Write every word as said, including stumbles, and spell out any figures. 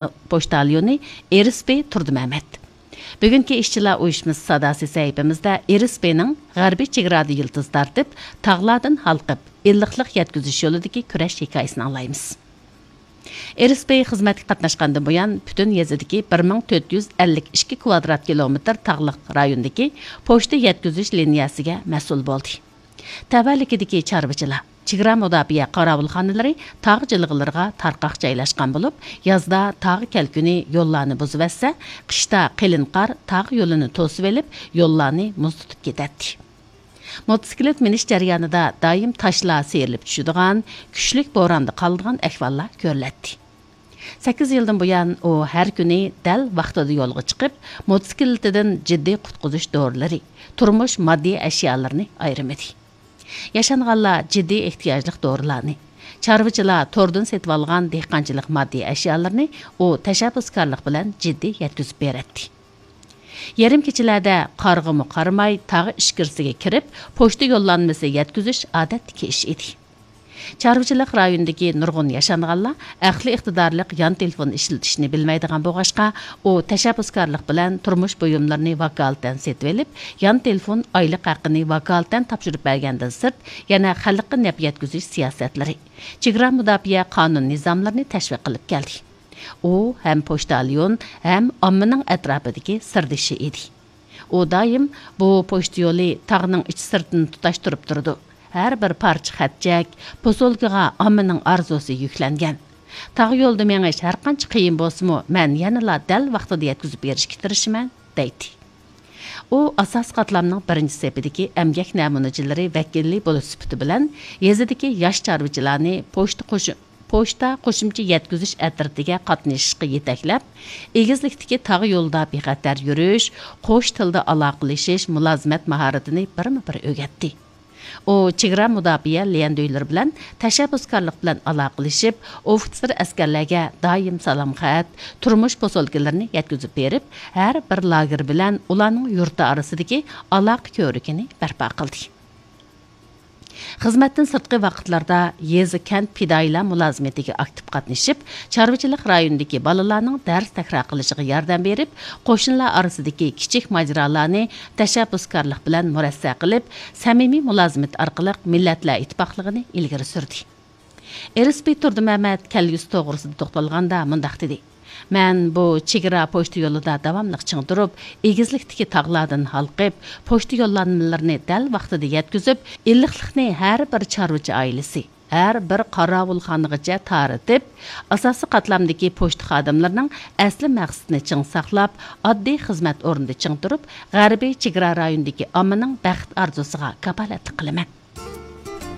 پوچتاليونى ئېرىسبى تۇردىمەمەت. بۈگۈنكى ئىشچىلار ئۇيۇشمىسى ساداسى سەھىپىمىزدە ئېرىسبىنىڭ غەربىي چېگرادا يىلتىز تارتىپ، تاغلاردىن ھالقىپ، ئىللىقلىق يەتكۈزۈش يولىدىكى كۈرەش ھېكايىسىنى ئاڭلايمىز. ئېرىسبى خىزمەتكە قاتناشقاندىن بۇيان، پۈتۈن يېزىدىكى بىر مىڭ تۆت يۈز ئەللىك ئىككى كىۋادرات كىلومېتىر تاغلىق رايوندىكى پوچتا يەتكۈزۈش لىنىيەسىگە مەسئۇل بولدى. تەۋەلىكىدىكى چارۋىچىلار، چېگرا مۇداپىئە قاراۋۇلخانىلىرى تاغ جىلغىلىرىغا تارقاق جايلاشقان بولۇپ، يازدا تاغ كەلكۈنى يوللارنى بۇزۇۋەتسە، قىشتا قېلىن قار تاغ يولىنى توسۇۋېلىپ، يوللارنى مۇز تۇتۇپ كېتەتتى. موتوسىكلىت مىنىش جەريانىدا دائىم تاشلار سىيرىلىپ چۈشىدىغان، كۈچلۈك بوراندا قالىدىغان ئەھۋاللار كۆرۈلەتتى. سەككىز يىلدىن بۇيان ئۇ ھەر كۈنى دەل ۋاقتىدا يولغا چىقىپ، موتوسىكلىتىدىن جىددىي قۇتقۇزۇش دورىلىرى، تۇرمۇش ماددىي ئەشيالىرىنى ئايرىمىدى. ياشانغانلار جىددىي ئېھتىياجلىق دورىلارنى، چارۋىچىلار توردىن سېتىۋالغان دېھقانچىلىق ماددىي ئەشيالىرىنى ئۇ تەشەببۇسكارلىق بىلەن جىددىي يەتكۈزۈپ بېرەتتى. يېرىم كېچىلەردە قارىغىمۇ قارىماي تاغ ئىچكىرىسىگە كىرىپ، پوچتا يوللانمىسى يەتكۈزۈش ئادەتتىكى ئىش ئىدى. چارۋىچىلىق رايونىدىكى نۇرغۇن ياشانغانلار ئەقلىي ئىقتىدارلىق يان تېلېفون ئىشلىتىشنى بىلمەيدىغان بولغاچقا، ئۇ تەشەببۇسكارلىق بىلەن تۇرمۇش بۇيۇملىرىنى ۋاكالىتەن سېتىۋېلىپ، يان تېلېفون ئايلىق ھەققىنى ۋاكالىتەن تاپشۇرۇپ بەرگەندىن سىرت، يەنە خەلققە نەپ يەتكۈزۈش سىياسەتلىرى، چېگرا مۇداپىئە قانۇن نىزاملىرىنى تەشۋىق قىلىپ كەلدى. ئۇ ھەم پوچتاليون، ھەم ئاممىنىڭ ئەتراپىدىكى سىردىشى ئىدى. ئۇ دائىم بۇ پوچتا يولى تاغنىڭ ئىچ سىرتىنى تۇتاشتۇرۇپ تۇرىدۇ. ھەر بىر پارچە خەتچەك، پوسۇلكىغا ئاممىنىڭ ئارزۇسى يۈكلەنگەن. تاغ يولىدا مېڭىش ھەرقانچە قىيىن بولسىمۇ، مەن يەنىلا دەل ۋاقتىدا يەتكۈزۈپ بېرىشكە تىرىشىمەن، دەيتتى. ئۇ ئاساسىي قاتلامنىڭ بىرىنچى سېپىدىكى ئەمگەك نەمۇنىچىلىرى ۋەكىلى بولۇش سۈپىتى بىلەن يېزىدىكى ياش چارۋىچىلارنى پوچتا قوشۇ-، پوچتا قوشۇمچە يەتكۈزۈش ئەترىتىگە قاتنىشىشقا يېتەكلەپ، ئېگىزلىكتىكى تاغ يولىدا بىخەتەر يۈرۈش، قوش تىلدا ئالاقىلىشىش، مۇلازىمەت ماھارىتىنى بىرمۇ بىر ئۆگەتتى. ئۇ چېگرا مۇداپىئە ليەندۈيلىرى بىلەن تەشەببۇسكارلىق بىلەن ئالاقىلىشىپ، ئوفىتسېر ئەسكەرلەرگە دائىم سالام خەت، تۇرمۇش پوسۇلكىلىرىنى يەتكۈزۈپ بېرىپ، ھەر بىر لاگېر بىلەن ئۇلارنىڭ يۇرتى ئارىسىدىكى ئالاقە كۆۋرۈكىنى بەرپا قىلدى. خىزمەتتىن سىرتقى ۋاقىتلاردا يېزا، كەنت پىدائىيلار مۇلازىمىتىگە ئاكتىپ قاتنىشىپ، چارۋىچىلىق رايونىدىكى بالىلارنىڭ دەرس تەكرار قىلىشىغا ياردەم بېرىپ، قوشنىلار ئارىسىدىكى كىچىك ماجىرالارنى تەشەببۇسكارلىق بىلەن مۇرەسسە قىلىپ، سەمىمىي مۇلازىمەت ئارقىلىق مىللەتلەر ئىتتىپاقلىقىنى ئىلگىرى سۈردى. ئېرىسبى تۇردىمەمەت كەلگۈسى توغرىسىدا توختالغاندا مۇنداق دېدى: مەن بۇ چېگرا پوچتا يولىدا داۋاملىق چىڭ تۇرۇپ، ئېگىزلىكتىكى تاغلاردىن ھالقىپ، پوچتا يوللانمىلىرىنى دەل ۋاقتىدا يەتكۈزۈپ، ئىللىقلىقنى ھەر بىر چارۋىچى ئائىلىسى، ھەر بىر قاراۋۇلخانىغىچە تارىتىپ، ئاساسىي قاتلامدىكى پوچتا خادىملىرىنىڭ ئەسلى مەقسىتىنى چىڭ ساقلاپ، ئاددىي خىزمەت ئورنىدا چىڭ تۇرۇپ، غەربىي چېگرا رايونىدىكى ئاممىنىڭ بەخت ئارزۇسىغا كاپالەتلىك قىلىمەن.